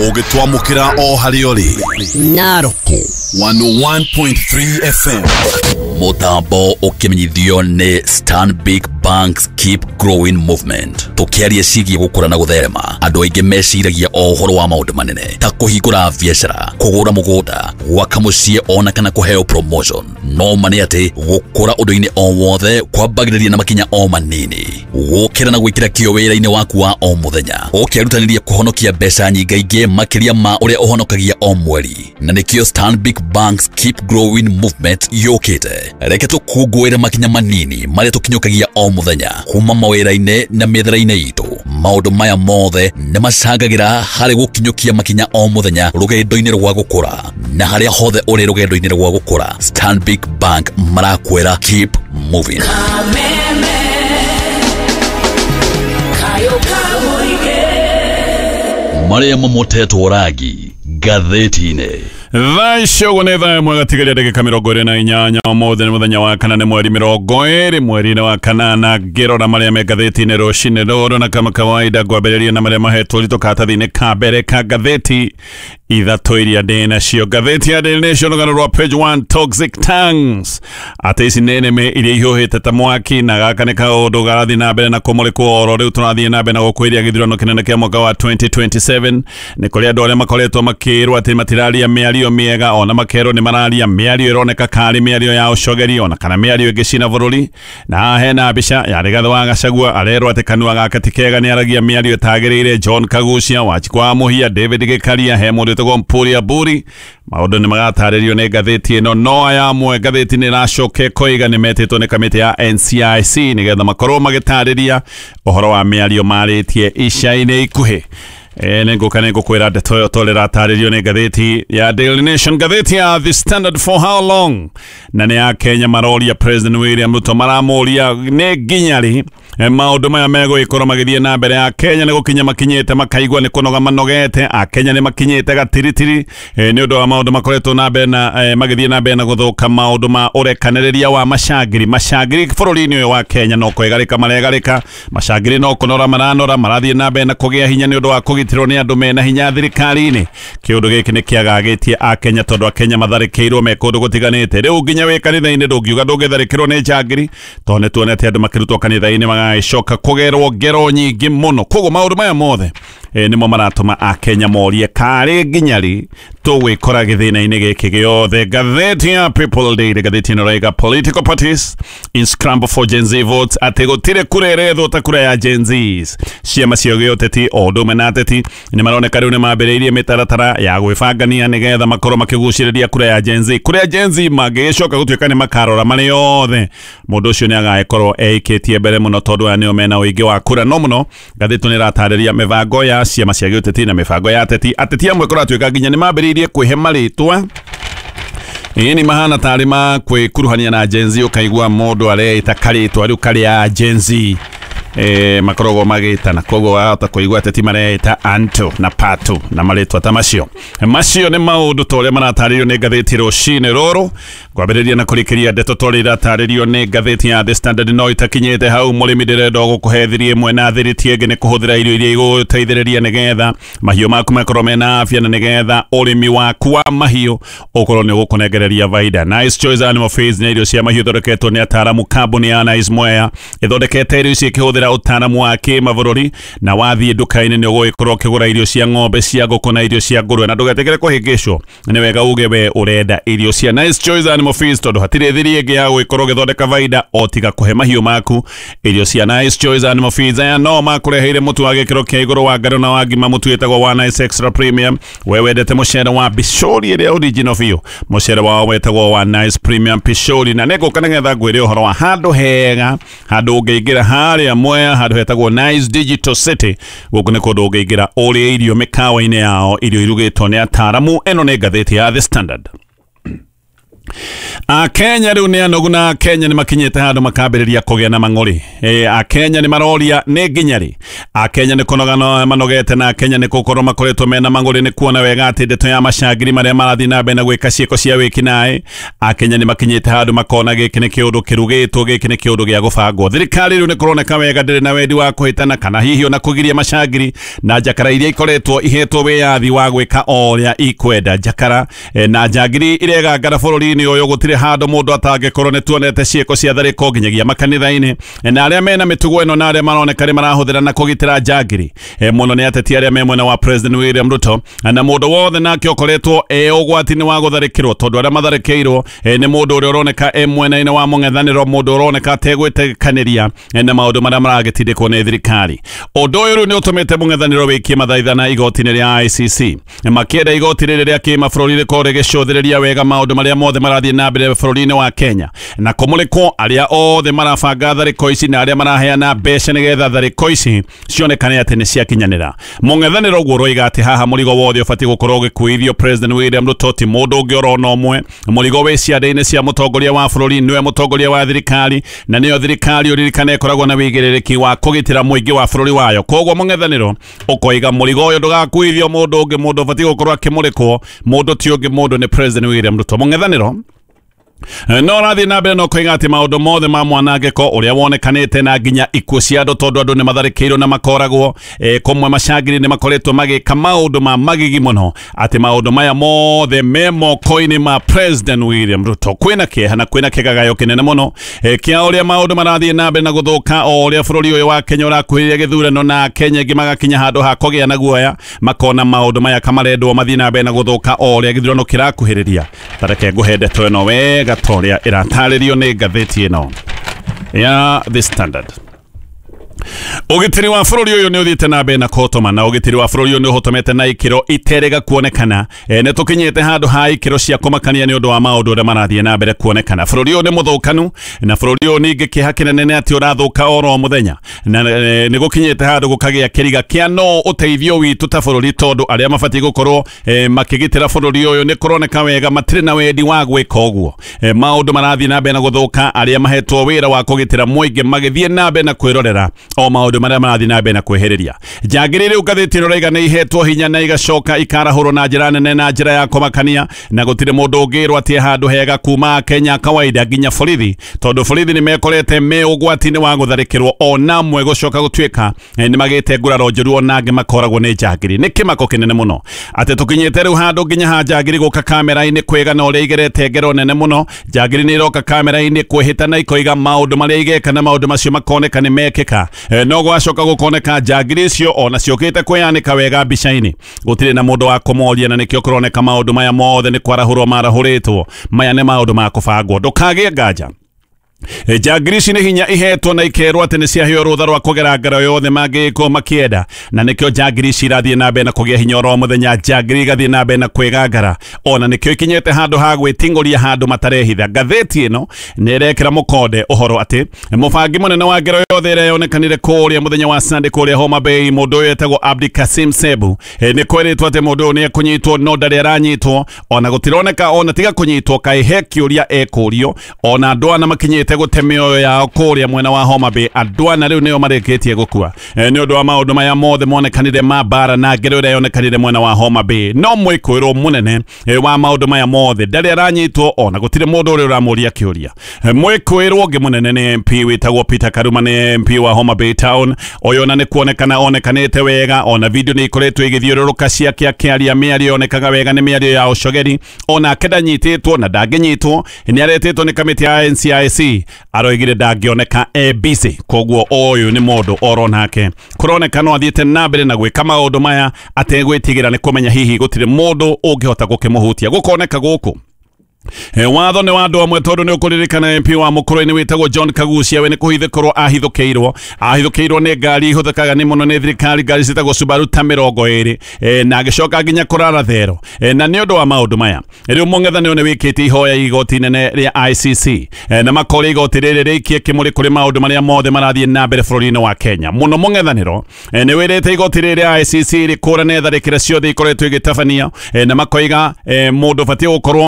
Ũgĩtwamũkĩra o harĩa ũrĩ. Narok 101.3 FM. Mũtambo ũkĩmenyithio nĩ Stanbic Bank's Keep Growing Movement. Tũkĩaria ciĩgiĩ gũkũra na gũtherema, andũ aingĩ meciragia o ũhoro wa maũndũ manene ta kũhingũra biacara, kũgũra mũgũnda, gwaka mũciĩ ona kana kũheo promotion. No ma nĩ atĩ gũkũra ũndũ-inĩ o wothe kwambagĩrĩria na makinya o manini. Gũkĩra na gwĩkĩra kĩo wĩra-inĩ waku wa o mũthenya, ũkĩrutanĩria kũhonokia mbeca nyingaingĩ makĩria ma ũrĩa ũhonokagia o mweri. Na nĩkĩo Stanbic Bank's Keep Growing Movement yũkĩte. Reke tũkũngũĩre makinya manini marĩa tũkinyũkagia o mũthenya kuma mawĩra-inĩ na mĩethere-inĩ itũ. Maũndũ maya mothe nĩ macangagĩra harĩ gũkinyũkia makinya o mũthenya rũgendo-inĩ rwa gũkũra. Na harĩa hothe ũrĩ rũgendo-inĩ rwa gũkũra, Stanbic Bank marakwĩra keep moving. Marĩa mamotetwo rangi ngathĩti-inĩ. Thaa icio ũguo nĩ thaa ĩmwe gatigaria ndagĩka 28. Ũmũthĩ nĩ mũthenya wa kana, nĩ mweri 20 mweri-inĩ wa kanana. Ngĩrora marĩa me ngathĩti-inĩ rũcinĩ rũrũ, na kama kawaida ngwambĩrĩria na marĩa mahetwo ũritũ karatathi-inĩ ka mbere ka ngathĩti ithatũ iria ndĩ nacio. Ngathĩti ya Daily Nation, rũgano rwa page 1, toxic tongues, atĩ ici nĩ nĩmĩ iria ihiũhĩte ta mwaki, na gaka nĩ kaũndũ garathiĩ na mbere na kũmũrĩkwo oro rĩu tũrathiĩ na mbere na gũkwĩria gĩthurano kĩnene kĩa mwaka wa 2027. Nĩ kũrĩ andũ arĩa makoretwo makĩrwo atĩ matiraria mĩario mĩega, ona makerwo nĩ mararia mĩario ĩroneka karĩ mĩario ya ũcogeri ona kana mĩario ĩngĩcina bũrũri. Na haha hena mbica ya Rigathĩ wa Gachagua, arerwo atĩ kanua gake ti kega, nĩ aragia mĩario ĩtagĩrĩire. John Kagucia, Wanjikũ wa Mũhia, David Gĩkaria, he mũndũ wĩtagwo Mpuria Mburi. Maũndũ nĩ magatarĩrio nĩ ngathĩti ĩno, no aya amwe ngathĩti nĩ ĩracoka ĩkoiga nĩ metĩtwo nĩ kamĩtĩ ya NCIC nĩgetha makorwo magĩtarĩria ũhoro wa mĩario marĩtie ica-inĩ ikuhĩ. Nĩ ngũka nĩ ngũkwĩra ndeto ĩyo tondũ ĩratarĩrio nĩ ngathĩti ya Daily Nation. Ngathĩti ya The Standard, for how long, na nĩ ya Kenya, maroria President William Ruto, maramũria nĩ nginya rĩ maũndũ maya megũgĩkorwo magĩthiĩ na mbere. Ya Kenya nĩ gũkinya makinyĩte makaigua nĩ kũnoga manogete. Akenya nĩ makinyĩte gatiritiri nĩ ũndũ wa maũndũ makoretwo na mbere na magĩthiĩ na mbere na gũthũka, maũndũ ma ũrekanĩrĩria wa macangiri. Macangiri bũrũri-inĩ ũyũ wa Kenya no kwĩgarĩka maregarĩka, macangiri no kũnora maranora, marathiĩ na mbere na kũgĩa hinya nĩ ũndũ wa kũgitĩrwo nĩ andũ mena hinya thirikari-inĩ. Kĩũndũ gĩkĩ nĩ kĩagagĩtie Akenya tondũ Akenya matharĩkĩirwo me kũndũ gũtiganĩte. Rĩu nginya wĩ kanitha-inĩ ndũngiuga ndũngĩtharĩkĩrwo nĩ njangiri, tondũ nĩ tuonete andũ makĩrutwo kanitha-inĩ magagĩcoka kũgerwo ngero nyingĩ mũno. Koguo maũndũ maya mothe nĩmo maratũma Akenya morie karĩ nginya rĩ tũgwĩkora gĩthĩna-inĩ gĩkĩ gĩothe. Ngathĩti ya People Daily, ngathĩti ĩno ĩraiga political parties in scramble for Gen Z votes, atĩ gũtirĩ kura ĩrethwo ta kura ya Gen Zs. Ciama cia gĩũteti o ũndũ ũmwe na ateti nĩ maroneka rĩu nĩ mambĩrĩirie mĩtaratara ya gwĩbangania nĩgetha makorwo makĩgucĩrĩria kura ya Gen Z. Kũrĩa Gen Z mangĩgĩcoka gũtuĩka nĩ makarora marĩ othe, mũndũ ũcio nĩ agagĩkorwo eikĩtie mbere mũno tondũ aya nĩo mena ũingĩ wa kura. No mũno ngathĩti nĩ ĩratarĩria mĩbango ya ciama cia gĩũteti na mĩbango ya ateti. Ateti amwe kũratuĩka nginya nĩ mambĩrĩirie kwĩhe marĩtwa ĩĩ nĩ mahana tarĩ ma kwĩkuruhania na Gen Z, ũkaigua mũndũ areĩta karĩtwa rĩu karĩa Gen Z makoragwo magĩtana. Koguo wahota kũigua ateti mareĩta Anto na Pato na marĩtwa ta macio. Macio nĩ maũndũ ta ũrĩa maratarĩrio nĩ ngathĩti rũcinĩ rũrũ. Ngwambĩrĩria na kũrĩkĩria ndeto ta ũrĩa iratarĩrio nĩ ngathĩti ya The Standard. No itakinyĩte hau, mũrĩmi ndĩrenda gũkũhe thiri ĩmwe na thiri ti ĩngĩ nĩ kũhũthĩra irio iria igũteithĩrĩria nĩgetha mahiũ maku makorwo mena afya na nĩgetha ũrĩmi waku wa mahiũ ũkorwo nĩ ũgũkũnengereria baida. Nice Choice Animal Feeds nĩ irio cia mahiũ ithondeketwo nĩ ataaramu. Kambuni ya Nice Mwea ĩthondekete irio ici ĩkĩhũthĩra ũtaaramu wa kĩmabũrũri, na wathiĩ nduka-inĩ nĩ ũgũgĩkorwo ũkĩgũra irio cia ng'ombe, cia ngũkũ na irio cia ngũrwe, na ndũgetĩkĩre kũhĩngĩcwo. Nĩ wega uge we ũrenda irio cia Nice Choice Animal Feeds tondũ hatirĩ thiri ĩngĩ ya gũgĩkorwo ũgĩthondeka baida o tiga kũhe mahiũ maku irio cia Nice Choice Animal Feeds. Aya no makũreheire mũtu wa gĩkĩro kĩa igũrũ wa ngano na wa ngima, mũtu wĩtagwo wa Nice Extra Premium. We wendete mũcere wa bicũri ĩrĩa original biũ, mũcere wao wetagwo wa Nice Premium Pishori. Na nĩngũka nĩgetha ngwĩre ũhoro wa handũ hega, handũ ũngĩingĩra harĩa Mwea, handũ hetagwo Nice Digital City. Gũkũ nĩ kũndũ ũngĩingĩra ũrĩe irio mĩkawa-inĩ yao, irio irugĩtwo nĩ ataaramu. Ĩno nĩ ngathĩti ya The Standard. Akenya rĩu nĩ anogu na Akenya nĩ makinyĩte handũ makambĩrĩria kũgĩa na mang'ũrĩ. Akenya nĩ maroria nĩ nginya rĩ. Akenya nĩ kũnoga manogete na Akenya nĩ gũkorwo makoretwo mena mang'ũrĩ nĩ kuona wega atĩ ndeto ya macangiri marĩa marathiĩ na mbere na gwĩka ciĩko cia wĩkinaĩ. Akenya nĩ makinyĩte handũ makona gĩkĩ nĩ kĩũndũ kĩrugĩtwo, gĩkĩ nĩ kĩũndũ gĩa gũbangwo. Thirikari rĩu nĩ kũroneka wega ndĩrĩ na wendi wa kũhĩtana kana hihi ona kũgiria macangiri na njakara iria ikoretwo ihetwo wĩyathi wa gwĩka o ũrĩa ikwenda. Njakara na njangiri iregangara bũrũri-inĩ ũyũ, gũtirĩ handũ mũndũ atangĩkorwo. Nĩ tuonete ciĩko cia tharĩko nginyagia makanitha-inĩ, na arĩa mena mĩtugo ĩno na arĩa maroneka nĩ marahũthĩra na kũgitĩra njangiri mũno nĩ ateti arĩa me mwena wa President William Ruto, na mũndũ wothe nake ũkoretwo e ũgwati-inĩ wa gũtharĩkĩrwo, tondũ arĩa matharĩkĩirwo nĩ mũndũ ũrĩa ũroneka e mwena-inĩ wa mũng'ethanĩro, mũndũ ũroneka ategwĩtĩkanĩria na maũndũ marĩa maragĩtindĩkwo nĩ thirikari. Ũndũ ũyũ rĩu nĩ ũtũmĩte mũng'ethanĩro wĩkie mathaithana igoti-inĩ rĩa ICC, makĩenda igoti rĩrĩ rĩa kĩmabũrũri rĩkorwo rĩgĩcũthĩrĩria wega maũndũ marĩa mothe marathiĩ na mbere bũrũri-inĩ wa Kenya, na kũmũrĩkwo arĩa othe marabanga tharĩko ici na arĩa maraheana mbeca nĩgetha tharĩko ici cionekane atĩ nĩ ciakinyanĩra. Mũng'ethanĩro ũguo ũroiga atĩ haha mũrigo wothe ũbatiĩ gũkorwo ũgĩkuithio President William Ruto, ti mũndũ ũngĩ orona ũmwe. Mũrigo wĩ ciande-inĩ cia mũtongoria wa bũrũri, nĩwe mũtongoria wa thirikari, na nĩyo thirikari ũririkane ĩkoragwo na wĩigĩrĩrĩki wa kũgitĩra mũingĩ wa bũrũri wayo. Koguo mũng'ethanĩro ũkoiga mũrigo ũyũ ndũgakuithio mũndũ ũngĩ, mũndũ ũbatiĩ gũkorwo akĩmũrĩkwo mũndũ ti ũngĩ, mũndũ nĩ President William Ruto. Mũng'ethanĩro no rathiĩ na mbere no koiga atĩ maũndũ mothe ma mwanangĩko ũrĩa wonekanĩte na nginya ikuũ cia andũ, tondũ andũ nĩ matharĩkĩirwo na makoragwo kũmwe macangiri nĩ makoretwo magĩka maũndũ ma magigi mũno, atĩ maũndũ maya mothe me moko-inĩ ma President William Ruto. Kwĩna kĩeha na kwĩna kĩgagayo kĩnene mũno kĩa ũrĩa maũndũ marathiĩ na mbere na gũthũka o ũrĩa bũrũri ũyũ wa Kenya ũrakuhĩrĩria gĩthurano, na Kenya aingĩ magakinya handũ ha kũgĩa na guoya, makona maũndũ maya kamarendwo mathiĩ na mbere na gũthũka o ũrĩa gĩthurano kĩrakuhĩrĩria. Tareke ngũhe ndeto ĩno wega toria ĩratarĩrio nĩ ngathĩti ĩno ya The Standard. Ũgitĩri wa bũrũri ũyũ nĩ ũthiĩte na mbere na kũhotoma, na ũgitĩri wa bũrũri ũyũ nĩ ũhotomete na ikĩro iterega kuonekana. Nĩ tũkinyĩte handũ ha ikĩro cia kũmakania nĩ ũndũ wa maũndũ ũrĩa marathiĩ na mbere kuonekana. Bũrũri ũyũ nĩ mũthũkanu, na bũrũri ũyũ ningĩ kĩeha kĩnene nĩ atĩ ũrathũka oro mũthenya, na nĩ gũkinyĩte handũ gũkagĩa kĩriga kĩa no ũteithio witũ ta bũrũri, tondũ arĩa mabatiĩ gũkorwo makĩgitĩra bũrũri ũyũ nĩ kũroneka wega matirĩ na wendi wa gwĩka ũguo. Maũndũ marathiĩ na mbere na gũthũka, arĩa mahetwo wĩra wa kũgitĩra mũingĩ magĩthiĩ na mbere na kwĩrorera o maũndũ marĩa marathiĩ na mbere na kwĩhĩrĩria. Njangiri rĩu ngathĩti ĩno ĩrauga nĩ ihetwo hinya na igacoka ikarahũrwo na njĩra nene na njĩra ya kũmakania, na gũtirĩ mũndũ ũngĩrwo atĩ handũ hega kuma Kenya kawaida nginya borithi, tondũ borithi nĩ mekorete me ũgwati-inĩ wa gũtharĩkĩrwo ona mwe gũcoka gũtuĩka nĩ magĩte nguraro njũru, ona angĩ makoragwo nĩ njangiri. Nĩ kĩmako kĩnene mũno atĩ tũkinyĩte rĩu handũ nginya ha njangiri gũka kamera-inĩ kwĩgana ũrĩa igerete ngero nene mũno. Njangiri nĩ iroka kamera-inĩ kwĩhĩta na ikoiga maũndũ marĩa igeka na maũndũ macio makoneka nĩ mekĩka. No gwacoka gũkoneka njangiri icio ona ciũkĩte kwĩyanĩka wega mbica-inĩ, gũtirĩ na mũndũ wa kũmoria, na nĩkĩo kũroneka maũndũ maya mothe nĩ kwarahũrwo marahũrĩtwo. Maya nĩ maũndũ ma kũbangwo, ndũkagĩe nganja. Njangiri ici nĩ hinya ihetwo na ikerwo atĩ nĩ ciaheo rũtha rwa kũgera ngero yothe mangĩkorwo makĩenda, na nĩkĩo njangiri ici irathiĩ na mbere na kũgĩa hinya oro mũthenya. Njangiri igathiĩ na mbere na kwĩgangara, ona nĩkĩo ikinyĩte handũ ha gwĩting'ũria handũ matarehitha. Ngathĩti ĩno nĩ ĩrekĩra mũkonde ũhoro atĩ mũbangi mũnene wa ngero yothe ĩrĩa yonekanire kũrĩa mũthenya wa Sunday kũrĩa Homa Bay, mũndũ ũyũ etagwo Abdi Kasim Sebu, nĩ kwĩrĩtwo atĩ mũndũ ũyũ nĩ ekũnyitwo, no ndarĩ aranyitwo, ona gũtironeka ona tiga kũnyitwo kaĩ he kĩũria ekũrio. Ona andũ ana makinyĩte gũte mĩoyo yao kũrĩa mwena wa Homa Bay, andũ ana rĩu nĩo marĩkĩtie gũkua nĩ ũndũ wa maũndũ maya mothe monekanire ma mbara na ngero ĩrĩa yonekanire mwena wa Homa Bay. No mwĩkũĩrwo mũnene wa maũndũ maya mothe ndarĩ aranyitwo, ona gũtirĩ mũndũ ũrĩa ũramũria kĩũria. Mwĩkũĩrwo ũngĩ mũnene nĩ MP wĩtagwo Peter Karuma, nĩ MP wa Homa Bay Town. Ũyũ ona nĩ kuonekana onekanĩte wega, ona video nĩ ikoretwo igĩthiũrũrũka ciake akĩaria mĩario yonekaga wega nĩ mĩario ya ũcogeri. Onake ndanyitĩtwo na ndangĩnyitwo, nĩ aretĩtwo nĩ kamĩtĩ ya NCIC, aroigire ndangĩoneka e busy. Koguo ũyũ nĩ mũndũ oro nake kũroneka no athiĩte na mbere na gwĩka maũndũ maya ategwĩtigĩra nĩ kũmenya hihi gũtirĩ mũndũ ũngĩhota gũkĩmũhutia. Gũkoneka gũkũ watho nĩ wa andũ amwe, tondũ nĩ ũkũririkana MP wa Mũkũrwe-inĩ wĩtagwo John Kagucia, we nĩ kũhithũkĩrwo ahithũkĩirwo nĩ ngari ihũthĩkaga nĩ mũno nĩ thirikari, ngari ciĩtagwo Subaru ta 20, na agĩcoka nginya kũrara thero. Na nĩ ũndũ wa maũndũ maya rĩu mũng'ethanĩro nĩ wĩkĩte ihoya igoti inene rĩa ICC, na makoria igoti rĩrĩ rĩikie kĩmũrĩ kũrĩ maũndũ marĩa mothe marathiĩ na mbere bũrũri-inĩ wa Kenya. Mũno mũng'ethanĩro nĩ wĩrĩte igoti rĩrĩ rĩa ICC rĩkũrane tharĩkĩra ciothe ikoretwo igĩtabanio, na makoiga mũndũ ũbatiĩ gũkorwo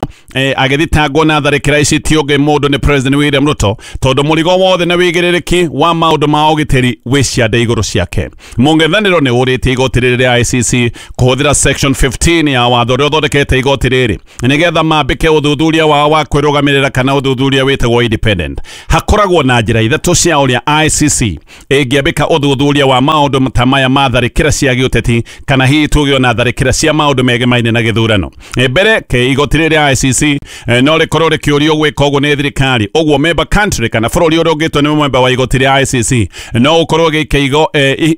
agĩthitangwo na tharĩkĩra ici ti ũngĩ mũndũ nĩ President William Ruto, tondũ mũrigo wothe na wĩigĩrĩrĩki wa maũndũ ma ũgitĩri wĩ ciande igũrũ ciake. Mũng'ethanĩro nĩ ũrĩtie igoti rĩrĩ rĩa ICC kũhũthĩra section 15 ya watho ũrĩa ũthondekete igoti rĩrĩ nĩgetha mambĩke ũthuthuria wao wa kwĩrũgamĩrĩra kana ũthuthuria wĩtagwo independent. Hakoragwo na njĩra ithatũ cia ũrĩa ICC ĩngĩambĩka ũthuthuria wa maũndũ ta maya ma tharĩkĩra cia gĩũteti kana hihi tuge ona tharĩkĩra cia maũndũ megemaine na gĩthurano. Mbere ke igoti rĩrĩ rĩa ICC no rĩkorwo rĩkĩũrio gwĩka ũguo nĩ thirikari, ũguo member country kana bũrũri ũrĩa ũngĩtwo nĩ member wa igoti rĩa ICC no ũkorwo gĩkĩigo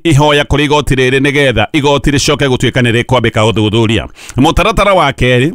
ihoya kũrĩ igoti rĩrĩ nĩgetha igoti rĩcoke gũtuĩka nĩ rĩkwambĩka ũthuthuria. Mũtaratara wa kerĩ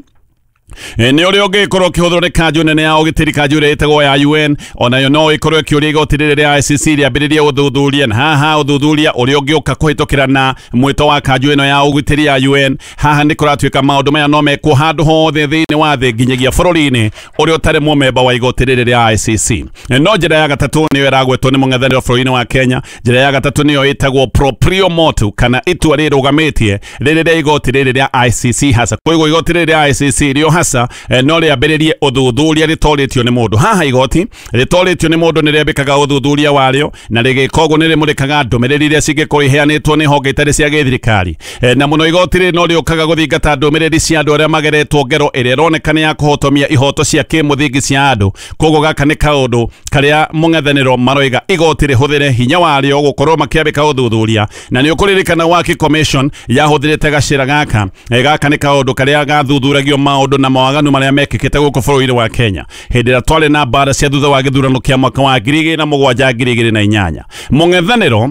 nĩ ũrĩa ũngĩkorwo ũkĩhũthĩrwo nĩ kanjũ nene ya ũgitĩri, kanjũ ĩrĩa ĩtagwo ya UN, onayo no ĩkorwo ĩkĩũria igoti rĩrĩ rĩa ICC rĩambĩrĩrie ũthuthuria, na haha ũthuthuria ũrĩa ũngĩũka kũhĩtũkĩra na mwĩto wa kanjũ ĩno ya ũgitĩri ya UN. Haha nĩ kũratuĩka maũndũ maya no mekwo handũ hothe thĩinĩ wa thĩ nginyagia bũrũri-inĩ ũrĩa ũtarĩ mũmemba wa igoti rĩrĩ rĩa ICC. No njĩra ya gatatũ nĩyo ĩragwetwo nĩ mũng'ethanĩro bũrũri-inĩ wa Kenya. Njĩra ya gatatũ nĩyo ĩtagwo proprio motu kana itua rĩrũgamĩtie rĩrĩ rĩa igoti rĩrĩ rĩa ICC hasa. Koguo igoti rĩrĩ rĩa ICC rĩo hasa no rĩambĩrĩrie ũthuthuria rĩtorĩtio nĩ mũndũ. Haha igoti rĩtorĩtio nĩ mũndũ nĩ rĩambĩkaga ũthuthuria warĩo na rĩgĩka ũguo nĩ rĩmũrĩkaga ndũmĩrĩri iria cingĩkorwo iheanĩtwo nĩ honge itarĩ cia gĩthirikari. Na mũno igoti rĩrĩ no rĩũkaga gũthingata ndũmĩrĩri cia andũ arĩa mageretwo ngero ĩrĩa ĩroneka nĩ ya kũhotomia ihoto cia kĩmũthingi cia andũ. Koguo gaka nĩ kaũndũ karĩa mũng'ethanĩro maroiga igoti rĩhũthĩre hinya warĩo gũkorwo makĩambĩka ũthuthuria, na nĩ ũkũririkana Waki Commission yahũthĩrĩte gacĩra gaka. Gaka nĩ kaũndũ karĩa gathuthuragio maũndũ na mawaganu marĩa mekĩkĩte gũkũ bũrũri-inĩ wa Kenya hĩndĩ ĩrĩa twarĩ na mbara cia thutha wa gĩthurano kĩa mwaka wa 2007 2008. Mũng'ethanĩro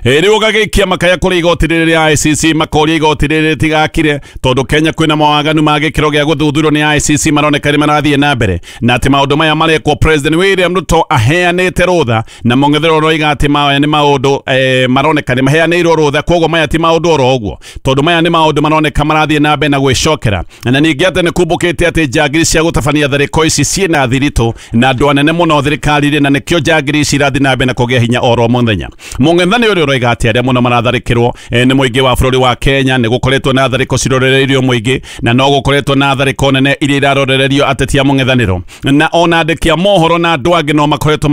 rĩu ũgagĩikia makaya kũrĩ igoti rĩrĩ rĩa ICC, makoria igoti rĩrĩ rĩtigakire tondũ Kenya kwĩna mawaganu ma gĩkĩro gĩa gũthuthurio nĩ ICC maroneka nĩ marathiĩ na mbere, na atĩ maũndũ maya marekwo President William Ruto aheanĩte rũtha, na mũng'ethanĩro ũroiga atĩ maya nĩ maũndũ maroneka nĩ maheanĩirwo rũtha, koguo maya ti maũndũ oro ũguo tondũ maya nĩ maũndũ maroneka marathiĩ na mbere na gwĩcokera. Na ningĩ atĩ nĩ kumbũkĩte atĩ njangiri cia gũtabania tharĩko ici ciĩna thiritũ na andũ anene mũno thirikari-inĩ, na nĩkĩo njangiri ici irathiĩ na mbere na kũgĩa hinya oro mũthenya. Mũng'ethanĩro ũroiga atĩ arĩa mũno maratharĩkĩrwo nĩ mũingĩ wa bũrũri wa Kenya, nĩ gũkoretwo na tharĩko cirorereirio mũingĩ, na no gũkoretwo na tharĩko nene iria irarorererio ateti a mũng'ethanĩro, na ona andĩki a mohoro na andũ angĩ no makoretwo